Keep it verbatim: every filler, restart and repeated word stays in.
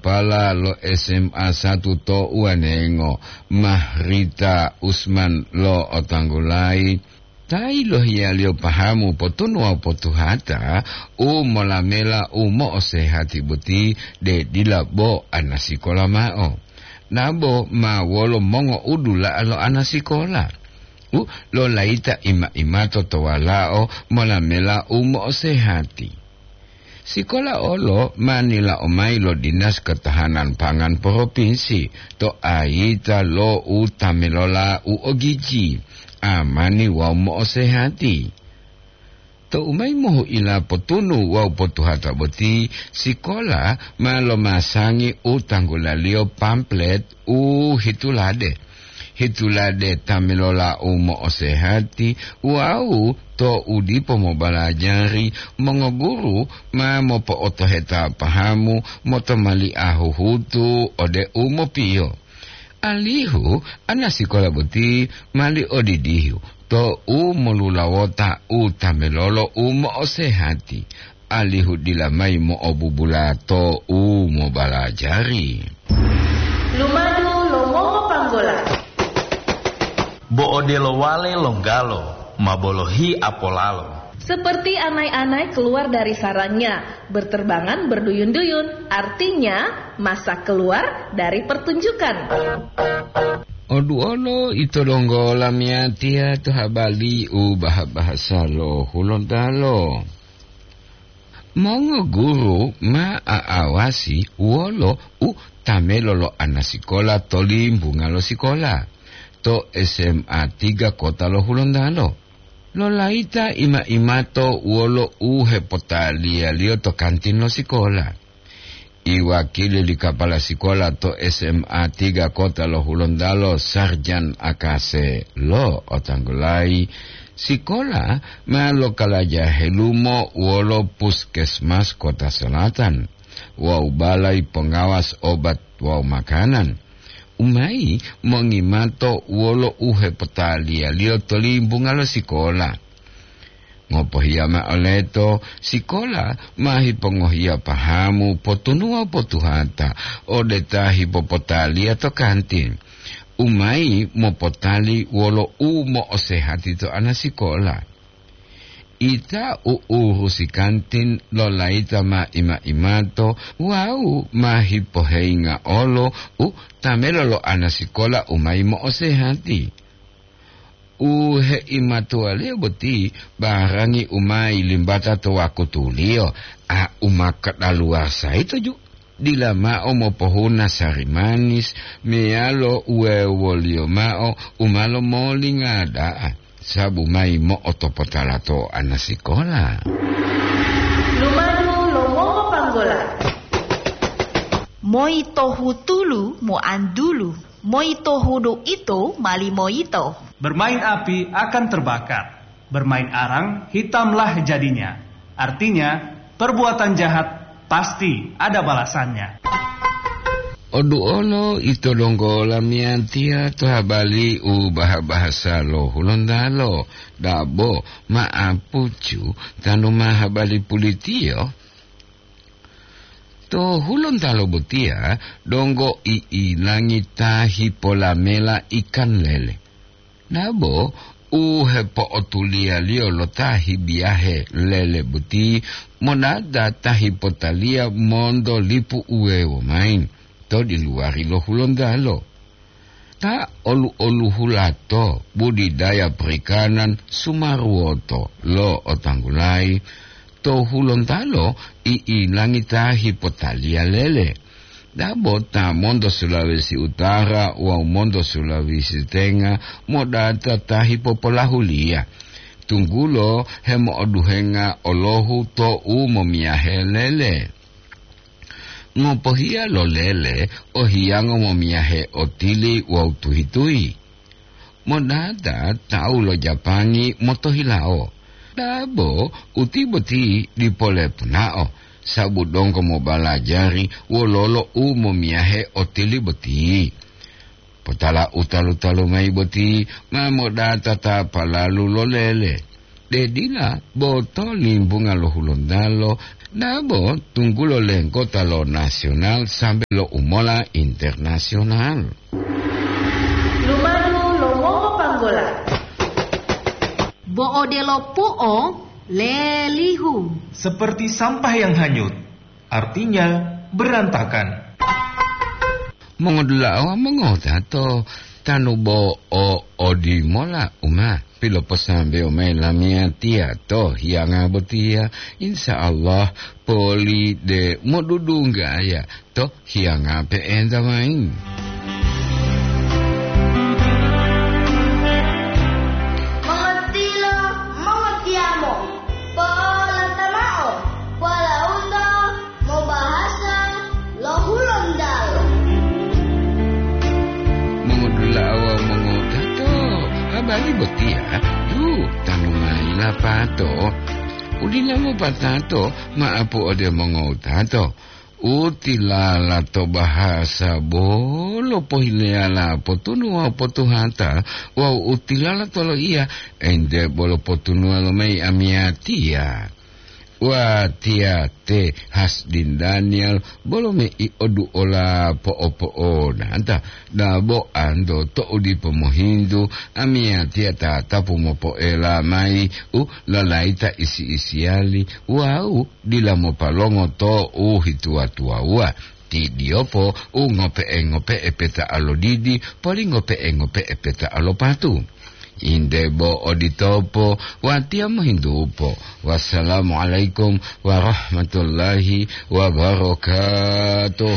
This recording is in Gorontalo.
Pala lo S M A satu to Uwanengo, Mahrita Usman lo Otanggulayi, ta yilohiyaliyo pahamu potunu wawu potuhata u molamela u mo'osehati boti, de dila bo anasikola ma'o. Nabo ma wolo mongo'udula'a lo anasikola u lolayita ima-imato to walao molamela u mo'osehati. Sikola olo ma nila'o mayi lo Dinas Ketahanan Pangan Propinsi to ayita lo u tamelola u ogiji, amani wawu mo'osehati. Tou mayi mohu'ila potunu wawu potuhata boti, sikola ma lomasangi u tanggulaliyo pamflet u hitulade. Hitulade ta melola u mo'osehati wawu to u dipo mobalajari, mongoguru ma mopo'otoheta pahamu motomali'a huhutu ode u mopiyo. Alihu anasikola boti mali odidihu to u molulawota u ta melolo u mo'osehati, alihu dila mayi mo'obubula to u mobalajari. Lumadu lo mongopanggola. Bo odelo wale longgalo ma bolohi apolalo. Seperti anai-anai keluar dari sarangnya, berterbangan berduyun-duyun, artinya masa keluar dari pertunjukan. Oduolo ito donggo lamiyatiya to habali u baha-bahasa lo Hulontalo. Mongoguru ma a'awasi wolo u tamelo lo anasikola to limbunga lo sikola, to S M A tiga kota lo Hulontalo. Lolayita ima-imato wolo u hepotaliyaliyo to kantin lo sikola. Iwakili li kapala sikola to S M A tiga kota lo Hulontalo, Sarjan Akase lo otanggulayi, sikola ma lokalaja helumo wolo puskesmas Kota Selatan wawu balai pongawas obat wawu makanan, u mayi mongimato wolo u hepotaliyaliyo to limbunga lo sikola. Ngopohiya ma'o leto, sikola ma hipongohiya pahamu potunuwa potuhata ode ta hipopotaliya to kantin, u mayi mopotali wolo u mo'osehati to anasikola. Ita u urusi kantin lolayita ma ima-imato wawu ma hipoheyinga olo u tamelo lo anasikola u mayi mo'osehati. U heimatuwaliyo boti barangi u ma yilimbata to wakutuliyo, a u ma kadaluwasa yito ju. Dila mao mopohuna sari manis meyalo uwewoliyo mao u ma lomolingada'a, sabu mayi mo'otopotala to anasikola. Lumadu lo mongopanggola. Moi tohu tulu moantulu, moi tohu do ito mali moyito. Bermain api akan terbakar, bermain arang hitamlah jadinya. Artinya, perbuatan jahat pasti ada balasannya. Oduolo ito donggo lamiyatiya to habali u baha-bahasa lo Hulontalo, dabo ma'apucu tanu ma habali pulitiyo. To Hulontalo botiya donggo i'ilangi ta hipolamela ikan lele. Dabo u hepo'otuliyaliyo lo ta hibiyahe lele boti monata ta hipotaliya monto lipu uwewo mayi to diluwari lo Hulontalo. Ta olu-oluhulato budidaya perikanan sumaruwoto lo otanggulayi to Hulontalo i'ilangi ta hipotaliya lele. Dabo ta monto Sulawesi Utara wawu monto Sulawesi Tenga modata ta hipopolahuliya, tunggulo hemo'oduhenga olohu to u momiyahe lele. Ngopohiya lo lele o hiyango momiyahe otili wawu tuhi-tuhi. Modata tawu lo Japangi motohilawo. Dabo uti boti dipo lepunao, sabu donggo mobalajari wololo u momiyahe otili boti. Potala u talu-talu mayi boti ma modata ta palalu lo lele. De dila bo to limbunga lo Hulontalo Dabo tunggulo lenggota lo nasional sambe lo umola internasional. Lumadu lo mongopanggola. Bo odelo pu'o lelihu. Seperti sampah yang hanyut, artinya berantakan. Mongodula'a wawu mongotato, tanu bo o odimola uma piloposambeyo mayi lamiyatiya to hiyanga botiya, insya Allah poli de modudunggaya to hiyanga pe'enta mayi. Mongotiyo, mongotiyamo, po'olata mao, po'olaunto mobahasa lo Hulontalo. Mongodula'a wawu mongotato, habari botiya, yu, tanu mayi lapato. Udila mopatato, ma'apu ode mongotato. Utilala to bahasa bolo pohileyala potunu wawu potuhata, wawu utilala to loiya, ente bolo potunuwa lomayi amiyatiya. Watiya te Hasdin Daniel bolo mei oduola po'opo'onata, dabo anto to'u dipo mohintu, amiyatiya tatapu mopo'ela mayi u lalayita isi-isiyali wawu dila mopalongo to u hituwa-tuwawuwa. Ti diyopo u ngope'e-ngope'e peta'a lo didi, poli ngope'e-ngope'e peta'a lo patu. Inde bo oditopo, watiya mohintupo. Wassalamualaikum warahmatullahi wabarakatuh.